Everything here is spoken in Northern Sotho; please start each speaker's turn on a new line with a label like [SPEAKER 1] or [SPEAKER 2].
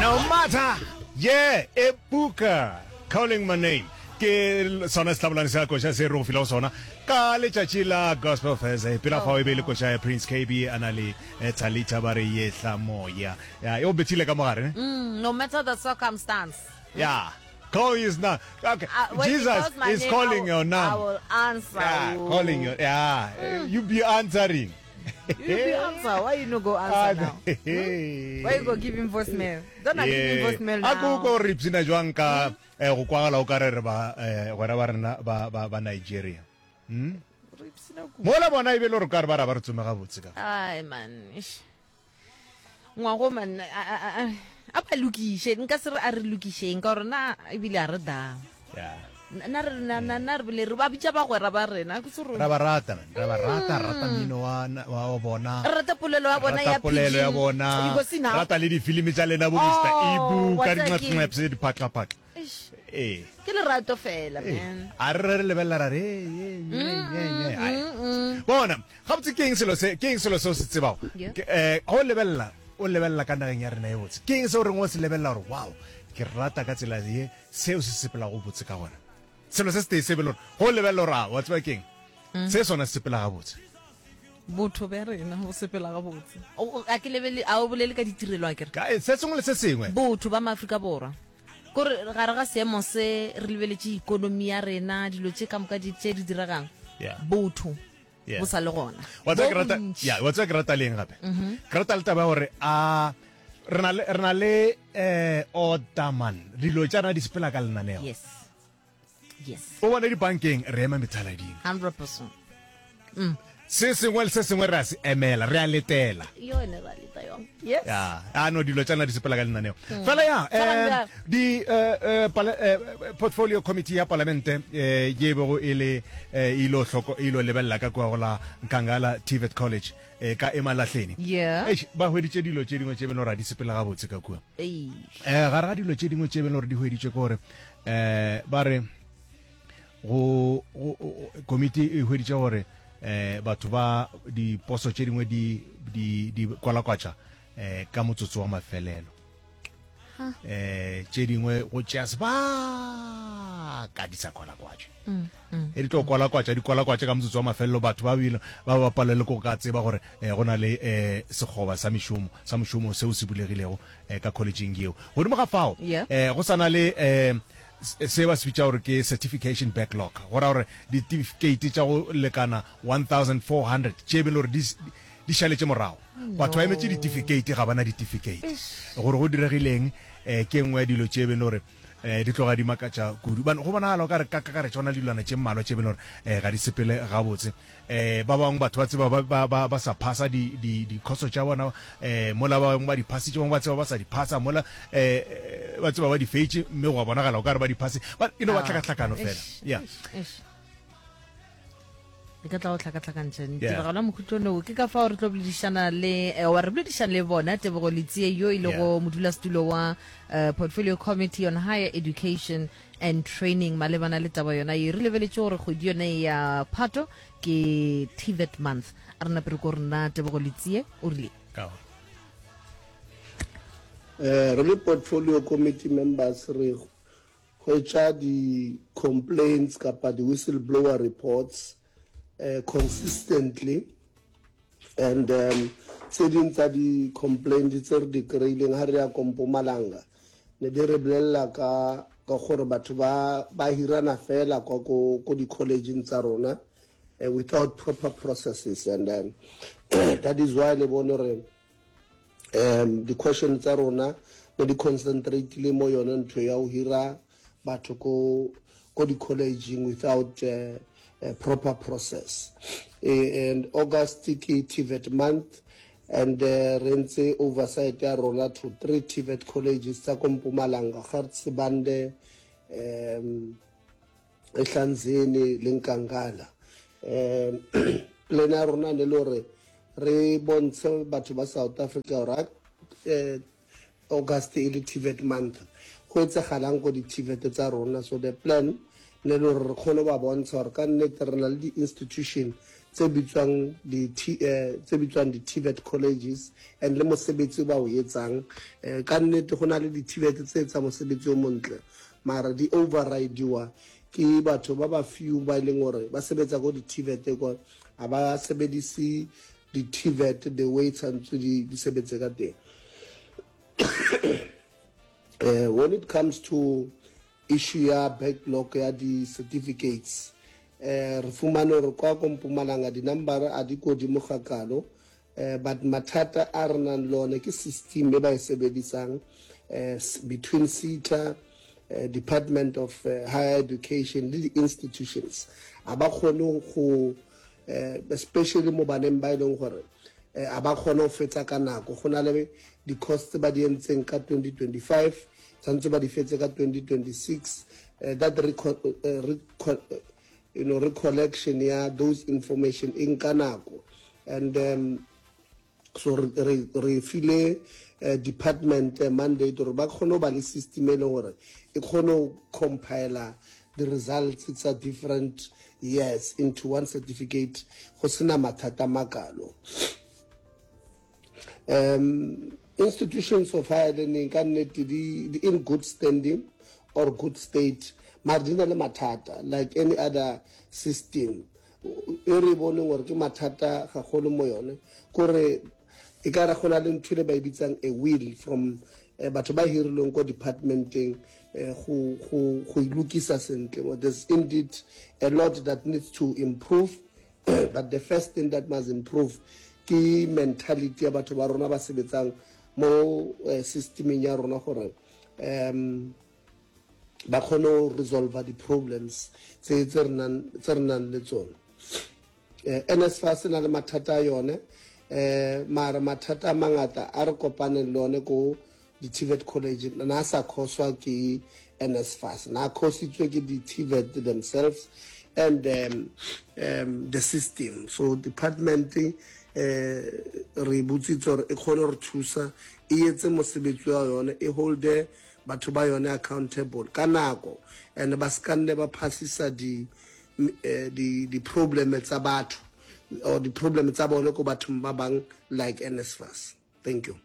[SPEAKER 1] No matter, yeah, Ebuka calling my name. Ke sona sehlabolane sa koša se re go filego sona ka letšatši la Gospel Thursday. Pela fao e be e le koša ya Prince KB a na le eh, Thalita ba re yehla moya. Ya, e o bethile ka mogare ne?
[SPEAKER 2] Mm, no matter the circumstance.
[SPEAKER 1] Ya. Call his name. Okay.
[SPEAKER 2] Uh, when he
[SPEAKER 1] Jesus
[SPEAKER 2] calls my
[SPEAKER 1] is
[SPEAKER 2] name,
[SPEAKER 1] calling
[SPEAKER 2] I will,
[SPEAKER 1] your
[SPEAKER 2] I
[SPEAKER 1] name.
[SPEAKER 2] will answer
[SPEAKER 1] Yeah,
[SPEAKER 2] you.
[SPEAKER 1] calling your yeah. You be answering.
[SPEAKER 2] You be answer. Why you no go answer now? Hmm? Why you go give him voicemail? Don't I give him voicemail
[SPEAKER 1] a ko
[SPEAKER 2] now.
[SPEAKER 1] ko re ipshina jwang ka eh, go kwagala o ka re re ba eh, gwera ba rena ba ba ba Nigeria hmm?
[SPEAKER 2] Re ipshina kudu.
[SPEAKER 1] mola bona e be le gore ka re ba ra ba re tsome gabotse ka
[SPEAKER 2] Ai man. eish. Ngwago man a a a a ba lokiše nka se re a re lokišeng ka gore na ebile a re dang.
[SPEAKER 1] Yeah.
[SPEAKER 2] Na re na na na re bile re ba bitša bagwera ba rena ke se
[SPEAKER 1] ra ba rata man ra ba rata rata mmino wa wa wa bona
[SPEAKER 2] Re rata polelo ya bona
[SPEAKER 1] rata
[SPEAKER 2] ya
[SPEAKER 1] polelo ya
[SPEAKER 2] pidgin.
[SPEAKER 1] bona
[SPEAKER 2] You go see now.
[SPEAKER 1] rata le difilimi tša lena bo Mr
[SPEAKER 2] Oh,
[SPEAKER 1] Ibu
[SPEAKER 2] wa
[SPEAKER 1] ka
[SPEAKER 2] tseba ke-
[SPEAKER 1] dinqepse diphatlaphatla
[SPEAKER 2] Eish.
[SPEAKER 1] ee
[SPEAKER 2] Ke lerato fela
[SPEAKER 1] Ee.
[SPEAKER 2] man.
[SPEAKER 1] a re re re lebelela ra re "Ee, ee, ee, ee, ee, ai." bona gabotse ke eng selo se ke eng selo se o se tsebago
[SPEAKER 2] Yeah.
[SPEAKER 1] Ke, eh, ga o lebelela o lebelela ka nageng ya rena e botse ke eng se o reng o se lebelela gore wow ke rata ka tsela ye seo se sepelago botse ka gona selo se setee se be le gore go lebelela gore a wa tseba ke eng se sona se sepela gabotse
[SPEAKER 3] Botho bja rena bo sepela gabotse.
[SPEAKER 2] O- o- A ke lebele a o bolele ka ditirelo a kere.
[SPEAKER 1] Ka- eh, se sengwe le se sengwe
[SPEAKER 2] Botho ba Maafrika Borwa. Kore gare ga seemo se re lebeletše ikonomi ya rena, dilo tše ka moka di tše di diregang.
[SPEAKER 1] Yeah.
[SPEAKER 2] Botho
[SPEAKER 1] Yeah.
[SPEAKER 2] bo sa le gona.
[SPEAKER 1] wa tseba
[SPEAKER 2] Bo
[SPEAKER 1] ke rata
[SPEAKER 2] bontši.
[SPEAKER 1] ya wa tseba ke rata leng gape ke rata le taba ya gore a re na le re na le eh order man dilo tša rena di sepela ka lenaneo
[SPEAKER 2] Yes. Yes.
[SPEAKER 1] o bone dibankeng re ema methalading
[SPEAKER 2] 100%.
[SPEAKER 1] Se sengwe le se sengwe re a se emela, re a letela.
[SPEAKER 2] Yone ra leta yona. Yes.
[SPEAKER 1] Ya, a no dilo tša nna di sepela ka lenaneo. Fela ya,
[SPEAKER 2] Tshwarang
[SPEAKER 1] eh,
[SPEAKER 2] bjang?
[SPEAKER 1] di eh, eh, pala, eh, portfolio committee ya palamente eh, ye e bego e le eh, e ilo hloko e ilo lebelela ka kua go la Nkangala TVET College eh, ka Emalahleni.
[SPEAKER 2] Yeah.
[SPEAKER 1] Eish, ba hweditše dilo tše dingwe tše beno ra di sepela gabotse ka kua.
[SPEAKER 2] Eish.
[SPEAKER 1] Eh, gare ga dilo tše dingwe tše beno gore di hweditšwe ke gore eh, ba re Go, go, komiti e hweditše gore eh, batho ba diposo tše dingwe di, di, di kwalakwatša eh, ka motsotso wa mafelelo. Eh, tše dingwe go tšea sebaka di sa kwalakwatšwe. Mm, mm, e di tlo kwalakwatša di kwalakwatša ka motsotso wa mafelelo batho ba bile ba ba palelwe ke go ka tseba gore eh, go na le eh, sekgoba sa mešomo sa mošomo seo se bulegilego eh, ka collegeng yeo. Godimo ga fao
[SPEAKER 2] Yeah.
[SPEAKER 1] eh, go sa na le eh, Se ba se bitša gore ke certification backlog, go ra gore ditifikeiti tša go lekana 1400 tše be le gore di di šaletše morago. Batho ba emetše ditifikeiti ga ba na ditifikeiti. Gore go diregileng eh, ke nngwe ya dilo tše be le gore eh, di tloga di makatša kudu. Bane go bonagala o ka re ka kakaretšo go na le dilwana tše mmalwa tše be le gore eh, ga di sepele gabotse. Eh, ba bangwe batho ba tseba ba, ba, ba, ba sa phasa di, di, dikhoso tša bona eh, mola ba bangwe ba di phasitše, bangwe ba tseba ba sa di phasa mola eh, ba tseba ba di feitše mme go a bonagala o ka re ba di phase ba e no ba
[SPEAKER 2] Ah,
[SPEAKER 1] tlhakatlhakano fela
[SPEAKER 2] eish,
[SPEAKER 1] yeah.
[SPEAKER 2] eish, eish. E ka tla go tlhakatlhakantšha
[SPEAKER 1] Yeah.
[SPEAKER 2] tiragalo ya mokhutlono wo ke ka fao re tlo boledišana le eh, wa re boledišana le bona Tebogo Letsie yo e lego
[SPEAKER 1] Yeah.
[SPEAKER 2] modulasetulo wa eh, portfolio committee on higher education and training malebana le taba yona ye re lebeletše gore kgwedi yone ya phato ke tvet month a re nape re ko rena tebogo letsie o rile
[SPEAKER 1] Ka
[SPEAKER 4] Eh, re le portfolio committee members re hwetša di-complaints kapa di-whistleblower reports eh, consistently and um, tse ding tsa di-complaint tse re di kry-ileng ga re ya ko Mpumalanga ne di re bolelela ka ka gore batho ba ba hirana fela kwa ko ko di-collegeng tsa rona uh, without proper processes and um, that is why le bone gore um di-question tsa rona ne di concentratile mo yone ntho ya go hira batho ko ko di-collegeng without uh, a proper process eh, and august ke tvet month and uh, re ntse oversight ya rona to three tvet colleges tsa ko mpumalanga gert sibande um ehlanzeni le nkangala um plan ya rona ne le gore re bontshe batho ba south africa gore eh, August e le TVET month go etsagalang ko di-TVET tsa rona so the plan ne le gore re kgone ba bontsha gore ka nnete re na le di-institution tse bitswang di tse bitswang di-TVET colleges and le mosebetsi o ba o etsang. Ka nnete go na le di-TVET tse etsang mosebetsi o montle mara di overridiwa ke batho ba ba few ba e leng gore ba sebetsa ko di-TVET kwa, ga ba sebedise di-TVET the way tshwanetse di sebetse ka teng. When it comes to Issue ya backlog ya di certificates eh re fumane gore kwa ko Mpumalanga di number a di kodimo gakalo eh but mathata a re nang le one ke system e ba e sebedisang eh between SETA eh, Department of eh, Higher Education le di-institutions a ba kgone go eh, especially mo baneng ba e leng gore eh, a ba kgone go fetsa ka nako go na le di-course tse ba di entseng ka 2025 tshwanetse ba di fetse ka 2026 eh, that reco eh, reco you know, recollection ya those information e nka nako and um, so re, re, re file uh, department uh, mandate gore ba kgone go ba le system e leng gore e kgone go compiler the results tsa different years into one certificate go sena mathata makalo um institutions of higher learning ka nnete di, di in good standing or good state mare di na le mathata like any other system e re boneng gore ke mathata gagolo mo yone kore e ka re go na le ntho le ba e bitsang a will from eh, batho ba hirilweng ko departmenteng eh, go go go ilukisa sentle. Well, there's indeed a lot that needs to improve but the first thing that must improve ke mentality ya batho ba rona ba sebetsang mo eh, systemeng ya rona gore um ba kgone go resolve di-problems tse tse re nang le tsone. Eh, NSFAS e na le mathata a yone eh mara mathata a mangata a re kopaneng le one ko di-TVET college na sa khoswa ke NSFAS na khositswe ke di-TVET themselves and um, um, the system. So department eh re botsitse gore e kgone re thusa e etse mosebetsi wa yone e holde batho ba yone accountable ka nako and ba ska nne ba phasisa di eh, di di problem tsa batho or di problem tsa bone ko bathong ba bang like NSFAS. Thank you.